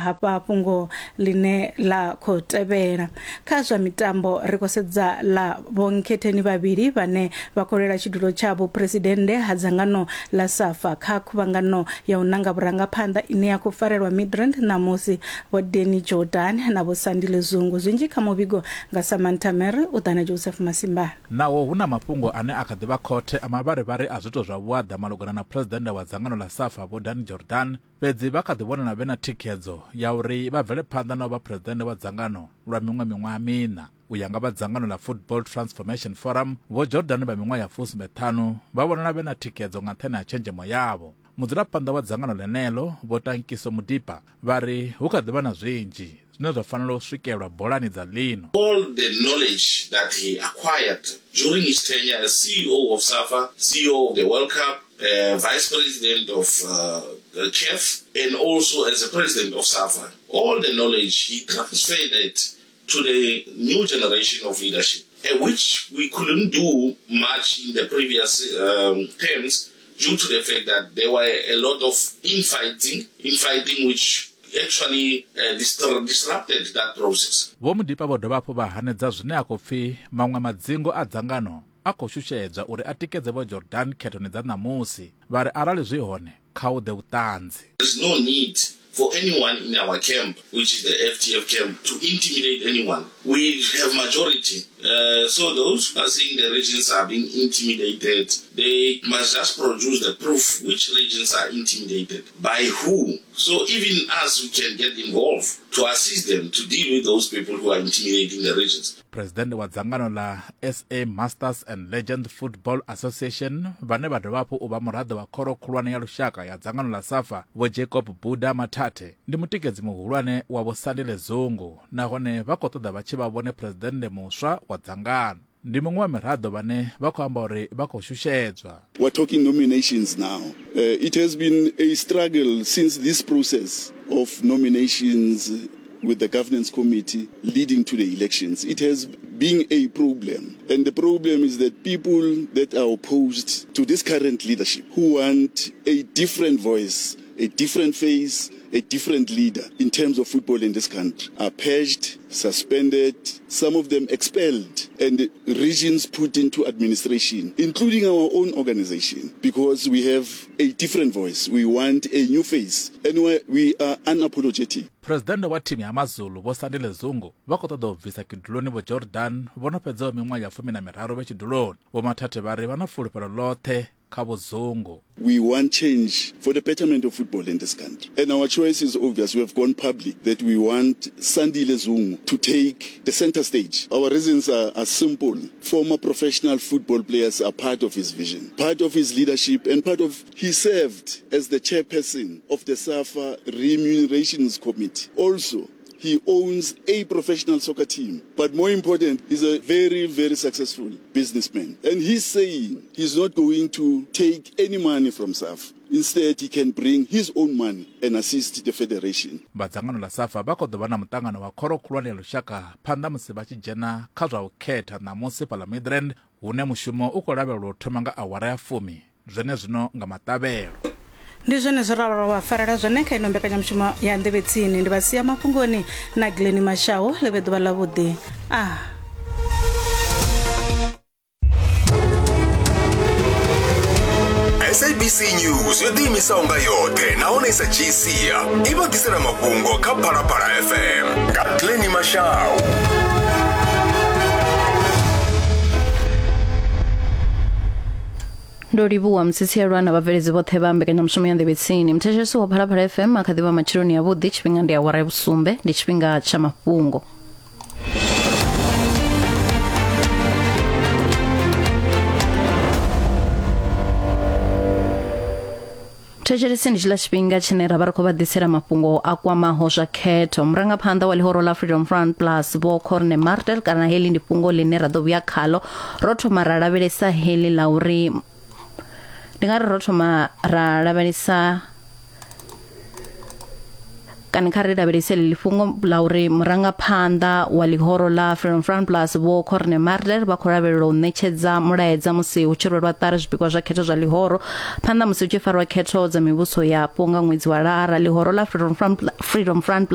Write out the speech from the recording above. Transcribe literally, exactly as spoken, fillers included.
hafha fhungo line la khou tevhela. Kha zwa mitambo ri khou sedza la vhonkhetheni vhavhili vhane vha khou lwela tshidulo tsha vhuphuresidennde ha dzangano la SAFA kha khuvhangano ya u nanga vhurangaphanḓa ine ya khou farelwa Midrand ṋamusi, vho Danny Jordan na vho Sandile Zungu. Zwinzhi kha muvhigo nga Samantha Mary u ḓa na Joseph Masimbana. Naho hu na mafhungo ane a kha ḓi vha khothe a mavharivhari a zwiito zwa vhuaḓa malugana na phuresidennde wa dzangano ḽa SAFA vho Danny Jordan, fhedzi vha kha ḓi vhonala vhe na thikhedzo ya uri vha bvele phanḓa na u vha phuresidennde wa dzangano lwa miṅwe miṅwaha miṋa. U ya nga vha dzangano ḽa Football Transformation Forum, vho Jordan vha miṅwaha ya fusumbe ṱhanu vha vhonala vhe na thikhedzo nga nṱhani ha tshenzhemo yavho. Mudzulaphanḓa wa dzangano ḽeneḽo vho Tankiso Mudipa vha ri hu kha ḓi vha na zwinzhi zwine zwa fanela u swikelwa bolani dza ḽino. All the knowledge that he acquired during his tenure as C E O of SAFA, C E O of the World Cup, uh, Vice President of uh, the C A F, and also as a President of SAFA, all the knowledge he transferred it to the new generation of leadership, which we couldn't do much in the previous um, terms due to the fact that there were a lot of infighting, infighting which actually uh, disrupted that process. Vho Mudipa vho dovha hafhu vha hanedza zwine a khou pfi maṅwe madzingo a dzangano a khou shushedzwa uri a tikedze vho Jordan khethoni dza ṋamusi, vha ri arali zwi hone kha hu ḓe vhuṱanzi. There's no need for anyone in our camp, which is the F T F camp, to intimidate anyone. We have majority. Uh, so those who are saying the regions are being intimidated, they must just produce the proof which regions are intimidated, by who. So even us, we can get involved to assist them to deal with those people who are intimidating the regions. President wa dzangano la S A Masters and Legends Football Association vhane vha dovha hafhu u vha muraḓo wa khoro khulwane ya lushaka ya dzangano la SAFA vho Jacob Buda Mathathe ndi mutikedzi muhulwane wa vho Sandile Zungu, nahone vha khou ṱoḓa vha tshi vha vhone presidennde muswa wa dzangano. Ndi muṅwe wa miraḓo vhane vha khou amba uri vha khou shushedzwa. We're talking nominations now. Uh, it has been a struggle since this process of nominations with the governance committee leading to the elections. It has been a problem. And the problem is that people that are opposed to this current leadership, who want a different voice, a different face, a different leader in terms of football in this country, are purged, suspended, some of them expelled, and regions put into administration, including our own organization, because we have a different voice. We want a new face, and we are unapologetic. President wa thimu ya AmaZulu vho Sandile Zungu vha khou ṱoḓa u bvisa kiduloni vho Jordan vho no fhedzaho miṅwaha ya fumi na miraru vhe tshiduloni. Vho Mathathe vha ri vha na fulufhelo ḽoṱhe kha vho Zungu. We want change for the betterment of football in this country. And our choice is obvious. We have gone public that we want Sandile Zungu to take the center stage. Our reasons are, are simple. Former professional football players are part of his vision, part of his leadership, and part of he served as the chairperson of the SAFA Remunerations Committee. Also, he owns a professional soccer team. But more important, he's a very, very successful businessman. And he's saying he's not going to take any money from SAFA. Instead, he can bring his own money and assist the federation. Vha dzangano ḽa SAFA vha khou ḓo vha na muṱangano wa khoro khulwane ya lushaka phanḓa musi vha tshi dzhena kha zwa u khetha ṋamusi fhaḽa Midrand, hune mushumo u khou lavhelelwa u thoma nga awara ya fumi zwenezwino nga maṱavhelo. Ndi zwone zwo ralo vha farela zwone kha ino mbekanyamushumo ya Nḓevhe Tsini. Ndi vha sia mafhungoni na Glenn Mashau. Ḽivhe ḓuvha ḽavhuḓi. Ah. S A B C News yo ḓiimisaho nga yoṱhe nahone sa dzhii sia i vha ḓisela mafhungo kha Phalaphala F M nga Glenn Mashau. Ndo livhuwa mtsitselwa na vhabveledzi vhoṱhe vha mbekanyamushumo ya Nḓevhe Tsini. Muthetshelesi wa Phalaphala F M a kha ḓivha matsheloni avhuḓi. Tshifhinga ndi awara ya vhusumbe, ndi tshifhinga tsha mafhungo. Thetshelesi ndi tshiḽa tshifhinga tshine ra vha ri khou vha ḓisela mafhungo a kwamaho zwa khetho. Murangaphanḓa wa ḽihoro ḽa Freedom Front Plus vho Corne Martel, kana heḽi ndi fhungo ḽine ra ḓo vhuya khalo. Ro thoma ra lavhelesa heḽi ḽa uri ndi nga ri ro thoma ra lavhelesa kana kha ri lavhelese ḽi fhungo ḽa uri murangaphanḓa wa ḽihoro ḽa Freedom Front Plus vho Corne Martel vha khou lavhelelwa u ṋetshedza mulaedza musi hu tshi rwelwa ṱari zwipikwa zwa khetho zwa ḽihoro phanḓa musi hu tshi farwa khetho dza mivhuso yapo nga ṅwedzi wa Lara. Ḽihoro ḽa Freedom Front Freedom Front